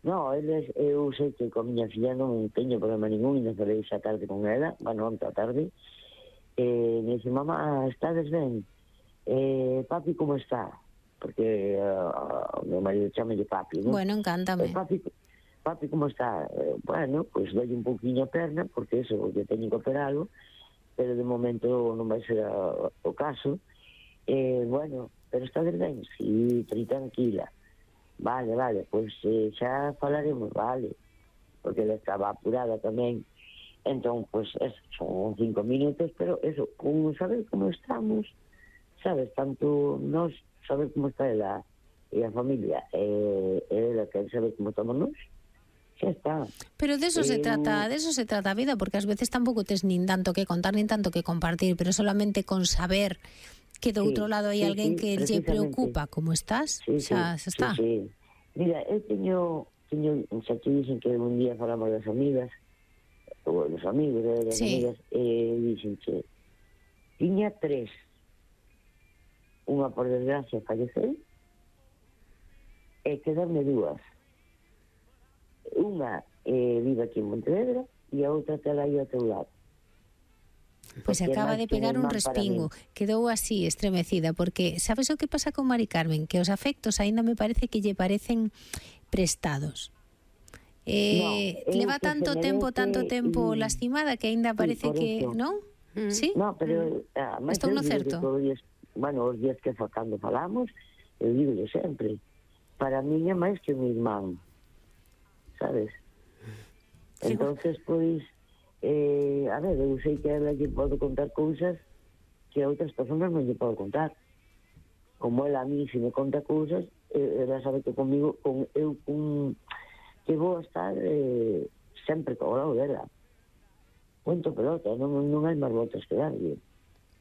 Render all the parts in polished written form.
No, eu sei que con miña filla non teño problema ningún, e non falei xa tarde con ela, bueno, onte a tarde, me dice, mamá, estades ben? Papi, como está? Porque o meu marido chamalle papi, non? Bueno, encántame. Papi, como está? Bueno, pois doy un pouquinho a perna, porque eso, que teño que operalo, pero de momento non vai ser o caso. Bueno, pero estades ben? Sí, tri tranquila. Vale, pois xa falaremos, vale, porque ela estaba apurada tamén. Entón, pois, son 5 minutos, pero eso, con saber como estamos, sabes, tanto nós, saber como está ela e a familia, ela quer saber como estamos nós, xa está. Pero de eso se trata a vida, porque ás veces tampouco tes nin tanto que contar, nin tanto que compartir, pero solamente con saber que do outro lado hai alguén que lle preocupa como estás, xa está. Sí. Mira, eu teño, xa te dicen que un día falamos das amigas, ou dos amigos, das amigas, dicen que tiña 3. Unha, por desgracia, falleceu, e quedarme 2. Unha vive aquí en Montevedra e a outra tela aí ao teu lado. Pois acaba de pegar un respingo, quedou así estremecida, porque sabes o que pasa con Mari Carmen? Que os afectos aínda me parece que lle parecen prestados. Leva tanto tempo lastimada que aínda parece que, non? Sí? No, pero estou no certo. Os días que cando falamos, eu digo sempre, para mí é máis que un irmán, sabes? Entonces, pois, a ver, eu sei que a ela lle podo contar cousas que a outras personas non lle podo contar. Como ela a mí, se me conta cousas, ela sabe que comigo, que vou a estar sempre ao lado dela. Punto pelota, non hai máis voltas que darlle.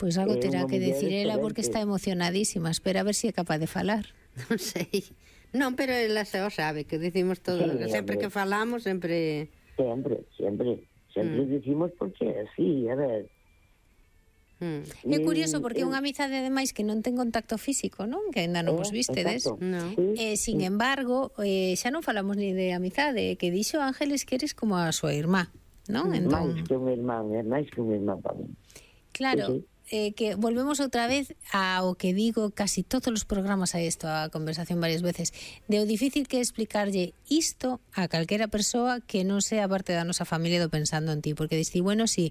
Pois algo terá que decir ela, porque está emocionadísima. Espera a ver se é capaz de falar. Non sei. Non, pero ela xa o sabe, que decimos todo, sempre que falamos, sempre... Sempre dicimos porque así, a ver. É curioso porque é unha amizade ademais que non ten contacto físico, non? Que ainda non vos vistedes. No. Sin embargo, xa non falamos ni de amizade, que dixo Ángeles que eres como a súa irmá, non? Máis que un irmán para mí. Claro. Que volvemos outra vez ao que digo casi todos os programas, a isto, a conversación varias veces, de o difícil que é explicarlle isto a calquera persoa que non sea parte da nosa familia do pensando en ti, porque diste, bueno, si,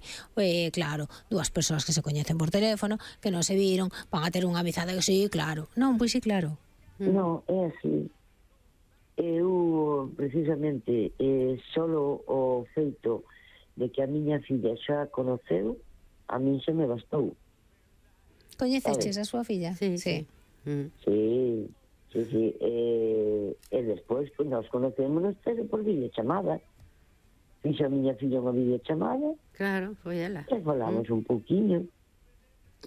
claro, 2 persoas que se coñecen por teléfono, que non se viron, van a ter unha amizade, que sí, claro. Non, pois sí, claro. Non, é así. Eu, precisamente, solo o feito de que a miña filla xa conoceu, a min xa me bastou. Coñeceches a súa filla? Sí. Sí. E despois, pues, nos conocémonos por videochamada. Fixo a miña filla unha videochamada. Claro, foi ela. E falamos un pouquiño.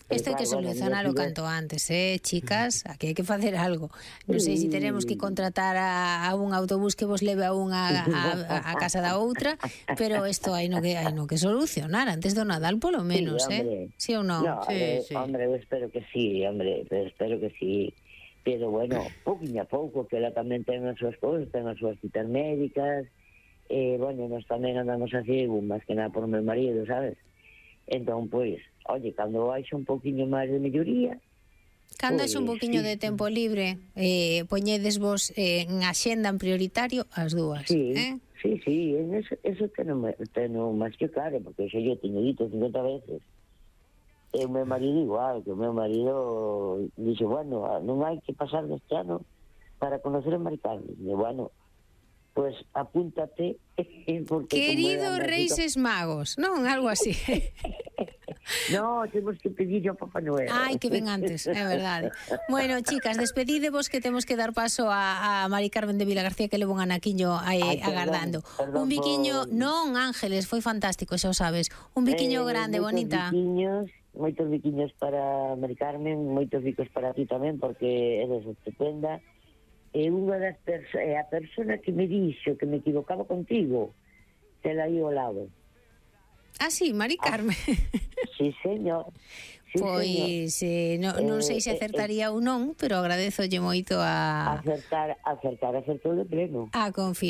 Isto hai que solucionalo canto antes, chicas, aquí hai que facer algo. Non sei se teremos que contratar a un autobús que vos leve a unha a casa da outra, pero isto hai no que solucionar antes do Nadal polo menos, sí ou non? No, sí. Hombre, eu espero que sí, pero bueno, pouquinho a pouco, que ela tamén ten as súas cousas, ten as súas citas médicas, bueno, nós tamén andamos así, máis que nada por o meu marido, sabes? Entón, pois, oye, cando haixa un pouquiño máis de melloría, cando haixa un pouquiño de tempo libre, poñedes vos en axenda en prioritario as dúas, Sí, eso teno máis que claro, porque xa yo teño dito 50 veces. E o meu marido igual, que o meu marido dixe, bueno, non hai que pasar deste ano para conocer a Mari Carmen. E bueno, pues apúntate. Querido Reixes Magos, non? Algo así. No, temos que pedir ao Papá Noel. Ai, que ven antes, é verdade. Bueno, chicas, despedidevos que temos que dar paso a Mari Carmen de Vilagarcía, que leva un anaquiño agardando. Un biquiño, non, Ángeles, foi fantástico, xa o sabes. Un biquiño grande, bonita. Moitos biquiños para Mari Carmen, moitos bicos para ti tamén, porque eres estupenda. E unha das a persona que me dixo que me equivocaba contigo, te la aí ao lado. Ah, sí, Mari Carmen. Sí, señor. Pois non sei se acertaría ou non, pero agradezolle moito acertar de pleno. A confianza.